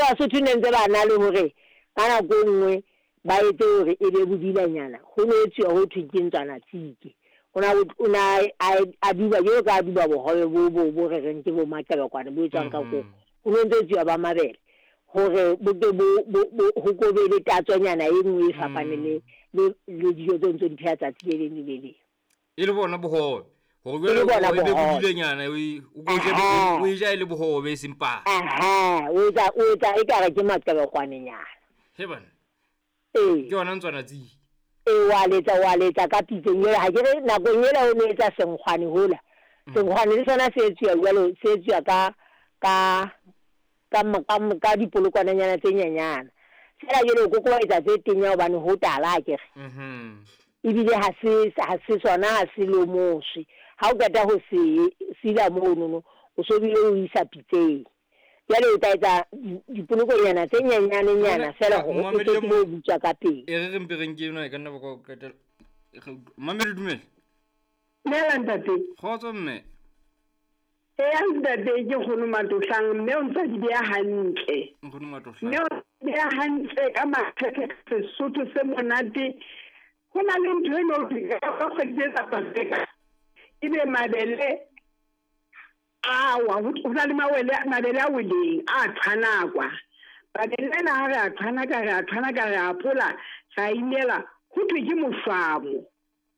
Basotho ne ntse ba na le hore ka nako e nngwe ba etse hore e be bodilanyana. Ho no etsuwa ho thweng ke ntswana tsike. O na o na a duba jwalo ka a duba bohobe bo bo bo re reng ke bo maqebekwane bo etswang ka koro. Ho no ntse etsuwa ba mabele hore bo ke bo bo ho ko be le tatsonyana e nngwe e fapaneng le le le dijo tseo ntso di pheha tsatsi le leng le le leng. E le bona bohobe. Hore jwale o be bodilenyana o e o e ja e le bohobe e seng papa. Aha, o etsa o etsa ekare ke maqebekwanenyana. He bana. Ee. Ke yona ntswana tsiki. Ee, wa letsa wa letsa ka pitseng ela. Ha ke re nakong ela o no etsa senkgwane hola. Senkgwane le sona se etsuwa jwalo, se etsuwa ka ka ka ka ka dipolokwananyana tse nyenyana. Feela jwale o kokobaetsa tse tenya hobane ho tala akere. Ebile ha se ha se sona ha se lomoswe. Ha o qeta ho se sila monono, o so bile o isa pitseng. Jwale o tla etsa dipolokonyana tse nyenyanenyana feela hore o tle tsebe ho butswa ka pele. E re re mpe re nke ena e ka nna ba ka qetela. Mamedi dumela. Dumela ntate. Kgotso mme. Eya ntate ke Nkgono Matohlang mme o ntse di beha hantle. Nkgono Matohlang. Mme o beha hantle ka makgethe Sesotho se monate. Ho na le ntho eno ka kgwedi tse tsa Paseka. Ebe mabele awa ho na le mawele mabele a weleng a tshwanakwa. Mabele ana ha re a tshwanaka re a tshwanaka re a pola ra inela ho thwe ke moswamo.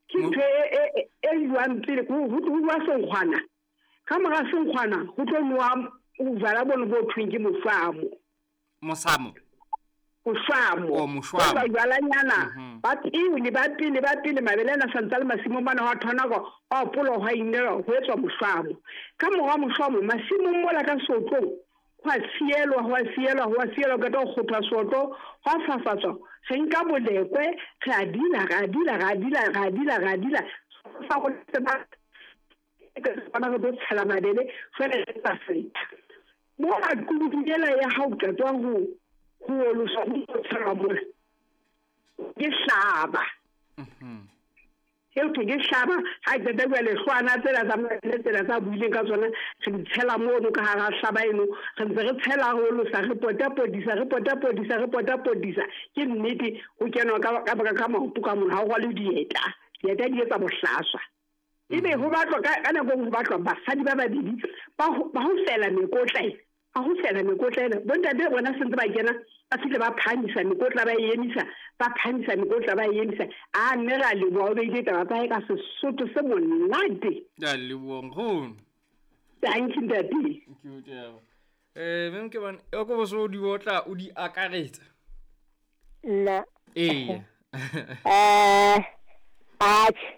Ke ntho e e jwang pele ho ho senkgwana. Ka mora senkgwana ho tlo nowa bojwala bono bo thweng ke moswamo. Mosamo. Moswamo. Oh, moshwamo. Ba jwalanyana ba pele ba pele ba pele mabele ana santse le masimong mane ho thonako a polo ho inelwa ho etswa moswamo. Ka mora moswamo masimong mola ka sotlong ho a sielwa ho a sielwa ho a sielwa ka to kgothwa sotlo ho a fafatswa re nka bolekwe re a dila re a dila re a dila re a dila re a dila fa go se ba bona re tlo tshela mabele jwale re tsa setha mo a kudu ela ya ha o qetwa ho ho oloswa ho tshelwa mola ke hlaba. Eo ke hlaba ha qeta jwale hlwana tsela tsa mabele tsela tsa buileng ka tsona re di tshela mono ka hara hlaba eno re ntse re tshela re olosa re potapotisa re potapotisa re potapotisa ke nnete ho kenwa ka ka ka maoto ka mona ha o rwale dieta dieta di etsa bohlaswa. Ebe ho batlwa ka nako ho batlwa basadi ba babedi ba ho fela mekotla ena ba ho fela mekotla ena bontate bona sentse ba kena ba fihle ba phahamisa mekotla ba e emisa ba phahamisa mekotla ba e emisa. A mme ra leboha o beile taba tsa hae ka Sesotho se monate. Ke a leboha nkgono. Thank you ntate. Ke o taba. Mme ke bane o ko boso di otla o di akaretsa. Nna. Ee. Atjhe.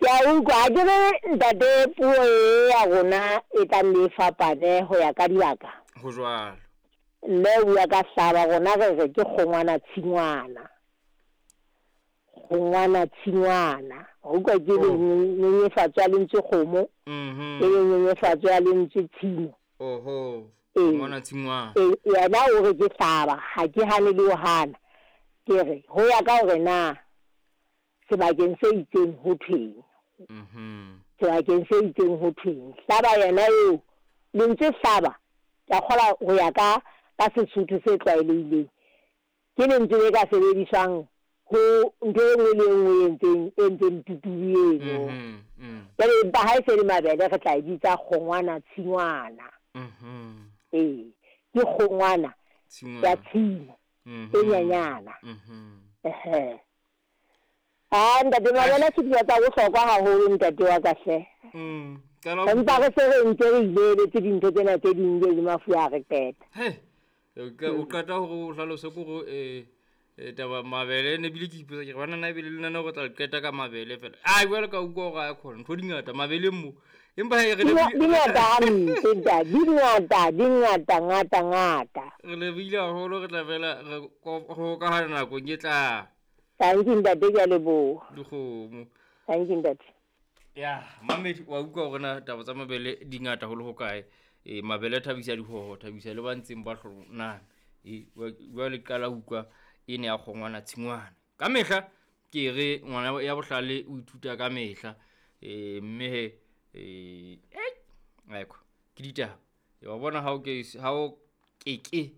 Ke a utlwa ha ke re ntate puo e ya rona e tla nne e fapane ho ya ka dibaka. Ho jwalo. Mme o bua ka hlaba rona re re ke kgongwana tshingwana. Kgongwana tshingwana. Wa utlwa ke le nyenyefatso ya lentswe kgomo. Ke le nyenyefatso ya lentswe tshimo. Oho. Kgongwana tshingwana. Yena o re ke hlaba ha ke hane le ho hana. Ke re ho ya ka hore na sebakeng se itseng ho thweng. Sebakeng se itseng ho thweng. Hlaba yena eo lentswe hlaba ke a kgolwa ho ya ka ka Sesotho se tlwaelehileng ke lentswe le ka sebediswang ho ntho e nngwe le e nngwe e entseng e entseng tutudu eno. Jwale empa ha e se le mabele re tla e bitsa kgongwana tshingwana. Ee, ke kgongwana ya tshimo e nyenyana. Ehe. Ah ntate mabele ke dijo tsa bohlokwa haholo ntate wa ka hle. Empa re se re ntse re ileletse dintho tsena tse ding le mafu a re qeta. He. O qeta hore o hlalose kore taba mabele ne bile ke ipotsa ke re bana na ebile le nna re tla qeta ka mabele fela. A jwale ka utlwa hore a khona ntho di ngata mabeleng mo. Empa he re di ngata hampe ntate, di ngata, di ngata ngata ngata. Re lebile haholo re tla fela re go ka hana nakong e tlang. Thank you ntate, ke a leboha. Dikgomo. Thank you ntate. Ya, mamedi wa utlwa hore na taba tsa mabele di ngata ho le hokae. Mabele thabisa dihoho, thabisa le ba ntseng ba hloname. Jwale qala ho utlwa e ne ya kgongwana tshingwana. Ka mehla ke re ngwana ya bohlale o ithuta ka mehla. Mme he aiko ke ditaba. Wa bona ha o ke ha o keke